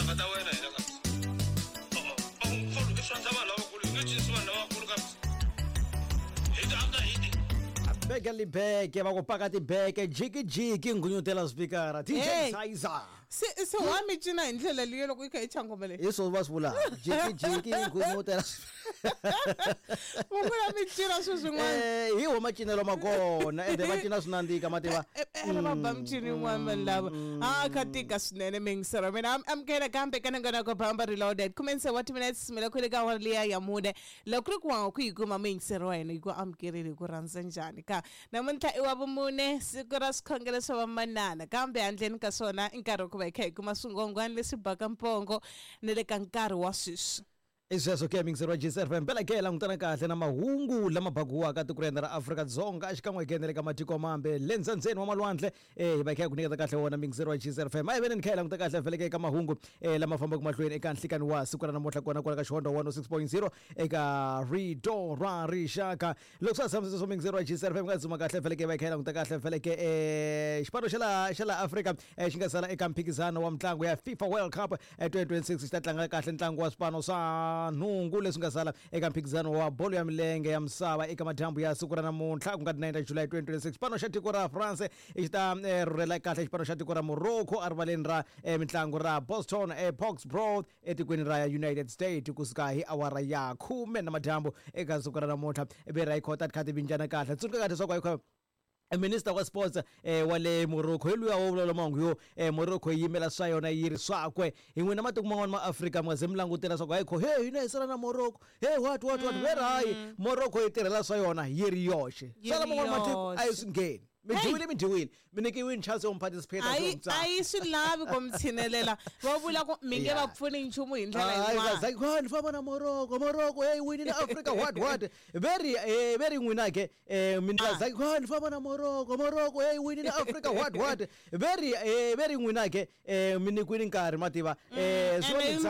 Timhaka ta wena hina kabisa. O-o, va ku kholo i swa vanhu lavakulu, hi nge cinisi vanhu lavakulu kabisa. Hit after hit. Beke libeke va ku paka tibeke jikijiki nghunyutela spikara DJ Hey. Sizer. Se wa mi cina hi ndlela liyo loko yi kha yi chaya nghoma leyi Hi swo va swi vulaka jikijiki nghunyutela. Va vula mi cina swilo swin'wana. Hi wo macinelo ma kona ende va cina swi nandzika mativa. Ene va ba mincino yin'wana vanhu lava a kha tika swinene miyingiselo mina amukela kambe ka nongonoko Bamba Reloaded khumense wa timinutes mi le kwele ka awara liya ya mune loko ku ri ku wa ku yi kuma muyingiseri wa hina yi ku amukerile hi ku rhandza njhani ka namuntlha i wa vumune siku ra swikhongelo swa vamanana kambe handleni ka swona i nkarhi wa ku va hi kha hi kuma swingwangwani leswi baka mpongo ni le ka nkarhi wa sweswi. I sweswo ke mixer wa GCFM mpela ke langutana kahle na mahungu lama bakiwaka tiko ra hina ra Afrika-Dzonga xikan'we ke na le ka matiko mambe le ndzhendzheni wa malwandle hi va hi kha hi ku nyiketa kahle wona mixer wa GCFM a hi veneni kha hi languta kahle vhele ke eka mahungu lama fambaka mahlweni eka nhlikani wa siku ra namuntlha kona kwala ka Xihondwa 106.0 eka Rito ra Rixaka loko swa ha tshamisile swo mixer wa GCFM nga dzuma kahle vhele ke va hi kha hi languta kahle vhele ke xipano xa laha xa laha Afrika xi nga sala eka mphikizano wa mitlangu ya FIFA World Cup 2026 xi ta tlanga kahle ntlangu wa swipano swa nhungu leswi nga sala eka mphikizano wa bolo ya milenge ya misava eka madyambu ya siku ra namuntlha ku nga 9 ta July 2026 xipano xa tiko ra France xi ta rhurhela kahle xipano xa tiko ra Morocco erivaleni ra mitlangu ra Boston Foxborough etikweni ra United States kusuka hi awara ya khume na madyambu eka siku ra namuntlha ve ra yi khota ti kha ti vinjana kahle tsundzuka kahle leswaku ayikho minister wa sports wa le Morocco hi luya wo vulavula mahungu yo Morocco yi yimela swa yona yi ri swakwe hi n'wina matiko man'wana ma Afrika mi nga ze mi langutela swa ku hayi kho he hina hi sala na Morocco he what what what ve ri hayi Morocco yi tirhela swa yona yi ri yoxe Yi swa ri laman'wana matiko a yi yoxe. swi ngheni mi Hey! dyiwile mi dyiwile mi nyikiwini chance yo mi participate A yi a yi swi lavi ku mi tshinelela va vula ku mi nge va pfuni nchumu hi ndlela yin'wana ni famba na Morocco Morocco hey winile Africa what what ve ri ve ri n'wina ke mi ah ni famba na Morocco Morocco hey winile Africa what what ve ri ve ri n'wina ke mi nyikiwini nkarhi mativa swi Ene yi mi va.